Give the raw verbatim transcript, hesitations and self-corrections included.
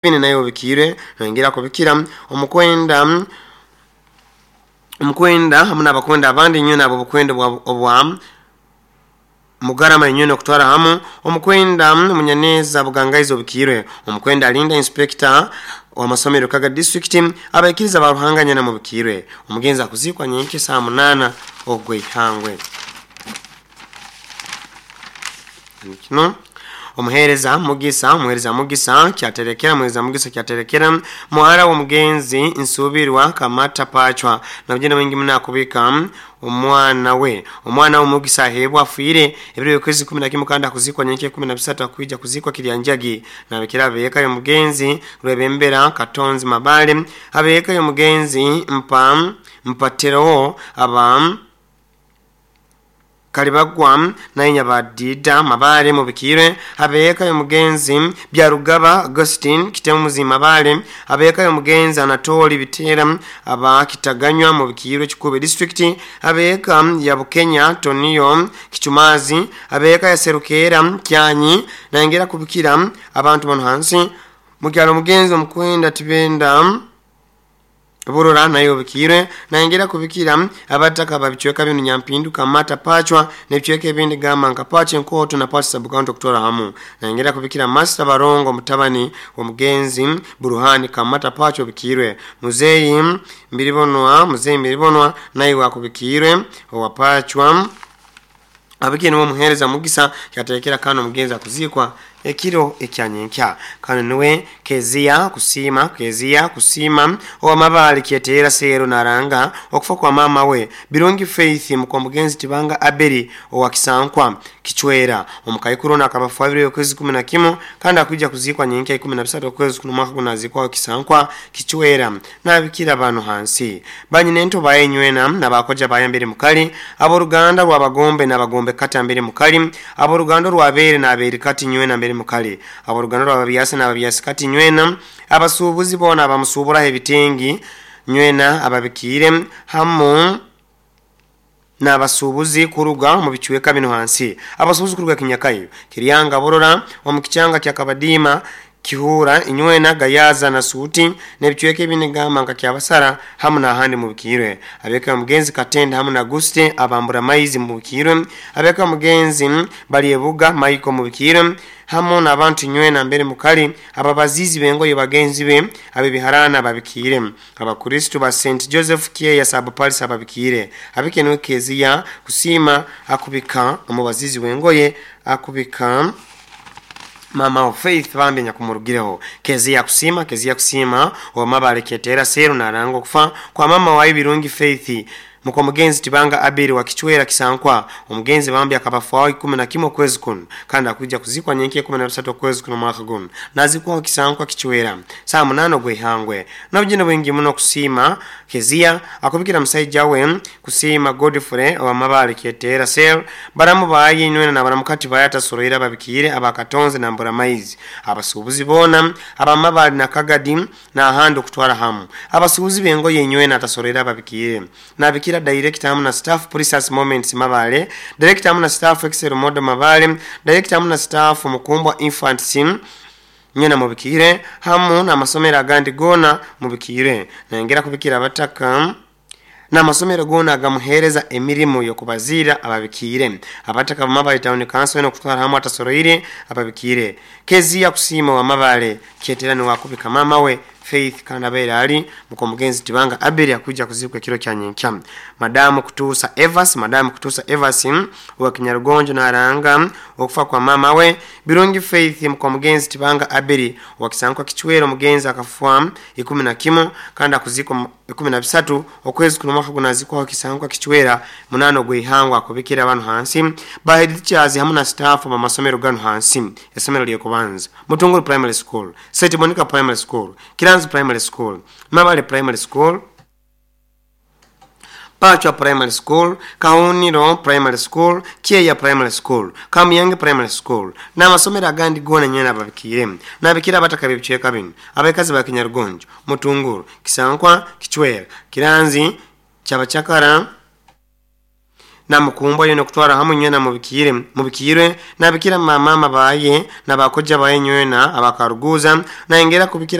Naye obikiire nongera kubikira omukwenda omukwenda hamu n'abakwenda abandi nyo nabo obukwenda obwa Mugarama inyono kutwara hamu omukwenda Munyaneza Bugangaizo obikiire omukwenda alinda inspector wa masomero Kaga district abaikiriza ba Ruhanga nyana mubikirwe omugenzi akuzikwa nyenke saa munana ogwe ihangwe kino omuhereza Mugisa omuhereza Mugisa kyaterekera omuhereza Mugisa kyaterekera muhara w'omugenzi Nsubirwa Kamata Pachwa nabugenda mwingi munakubika omwana we omwana w'Omugisa ahebwa afiire ebiro by'okwezi kumi na kimwe kandi akuzikwa nyenke kumi na bisatu akuija kuzikwa Kiryanjagi nabikira abeeka y'omugenzi Rwebembera Katonzi Mabale abeeka y'omugenzi Mpa Mpaterowo aba Kalibagwa na Nyabadida Mabale mubikire abeeka y'omugenzi Byarugaba Augustine Kitemuzi Mabale abeeka y'omugenzi Anatoli Bitera aba Kitaganywa mubikire Kikube district abeeka ya Bukenya Tonio Kichumazi abeeka ya Serukera Kyanyi nangera kubikira abantu bano hansi mukyalo mugenzi omukwenda Tibenda Burora nayo bikire naingira kubikira abataka babichweka bino Nyampindu Kamata Pachwa nebichweka ebindi gamba nka Pache Nkoto na Pache Sabukanto kutora hamu naingira kubikira Master Barongo mutabani wa mugenzi Buruhani Kamata Pachwa bikirwe Muzeyi Mbiribonwa Muzeyi Mbiribonwa naye wakubikirwe wa Pachwa abikine wo muhereza Mugisa kyaterekera kano mugenzi akuzikwa ekiro ekyanyenkya kano niwe Kezia Kusima Kezia Kusima owa Mabale kyetera sero naranga okufa kwa mama we Birungi Faith mukwa mugenzi Tibanga Aberi owa Kisankwa Kichwera omukaikuru akabafu abiri okwezi kumi na kimwe kandi akuja kuzikwa nyenkya ikumi na bisatu okwezi kuno mwaka kunazikwa Kisankwa Kichwera nabikira bano hansi banyinento bayenywena nabakoja bayambere mukali aboruganda rwabagombe nabagombe kata mbere mukali aboruganda rwabere nabere kati nywena mbere mukali aboruganda rwababyasa nababyasa kati nywena abasubuzi bona abamusubura ebitengi nywena ababikire hamu n'abasubuzi kuruga mu bichweka bino hansi abasubuzi kuruga Kinyakayo Kiryanga Borora omukichanga kya Kabadima Kihura inywena Gayaza na Suti nebichweke binigamba nka kyabasara hamu na handi mubikirwe abeka mugenzi Katenda hamu na Guste abambura maizi mubikirwe abeka mugenzi Baliebuga Maiko mubikirwe hamu na abantu nywena mbere mukali ababazizi bengoye bagenzi be abebiharana babikire abakristo ba Saint Joseph Kieya Sabupalisa babikire abikenwe Kezia Kusima akubika omubazizi wengoye akubika Mama of Faith bambi nyakumurugireho Kezia Kusima Kezia Kusima wa Mabale ketera seru narango kufa kwa mama wa Ibirungi Faith mukwa mugenzi Tibanga Abiri wa Kichwera Kisankwa omugenzi bambi akabafu ikumi na kimwe kwezi kuno kandi akuja kuzikwa nyenke kumi na bisatu kwezi kuno mwaka guno nazikwa Kisankwa Kichwera saa munano gwehangwe nabugina bwingi muno Kusima Kezia akubikira musaija we Kusima Godfrey wa Mabale ketera sel baramu bayi nywena na baramukati bayata soroira babikire abakatonze na mbura maizi abasubuzi bona abamabale na Kagadi na ahandi kutwara hamu abasubuzi bengo yenywena atasoroira babikire nabikira director hamu na staff Precious Moments Mabale director hamu na staff Excel Modo Mabale director hamu na staff Mukumbwa Infant Sim nyena mubikire hamu na masomero agandi gona mubikire nengera kubikira abataka na masomero gona agamuhereza emirimu yokubazira ababikire abataka Mabale Town Council no kutwara hamu atasoroire ababikire Kezia Kusima wa Mabale keterani wakubika mama we Faith Kanabera ali mko mugenzi Tibanga Aberi akuja kuzikwa kiro kya nyenkya Madamu Kutusa Evas Madamu Kutusa Evas wa Kinyarugonjo na aranga okufa kwa mama we Birungi Faith mko mugenzi Tibanga Aberi wa Kisankwa Kichwero mugenzi akafua ikumi na kimwe kandi akuzikwa ikumi na bisatu okwezi kuno mwaka kunazikwa Kisankwa Kichwera munano gwihangwa akubikira abantu hansi ba head teachers hamu na staff ba masomero gano hansi esomero lye kubanza Mutunguru Primary School, Saint Monica Primary School, Kiranzi Primary School, Mabale Primary School, Pachwa Primary School, Kauniro Primary School, Kieya Primary School, Kamuyange Primary School n'amasomero agandi gona nyena ababikire nabikira abataka b'ebicweka bino abakazi ba Kinyarugonjo, Mutunguru, Kisankwa, Kichwera, Kiranzi, Kyabachakara Namukumbwa yona kutwara hamwe nywena mubikire mubikirwe nabikira mamama baye nabakojja baye nywena abakaruguza naengera kubikira.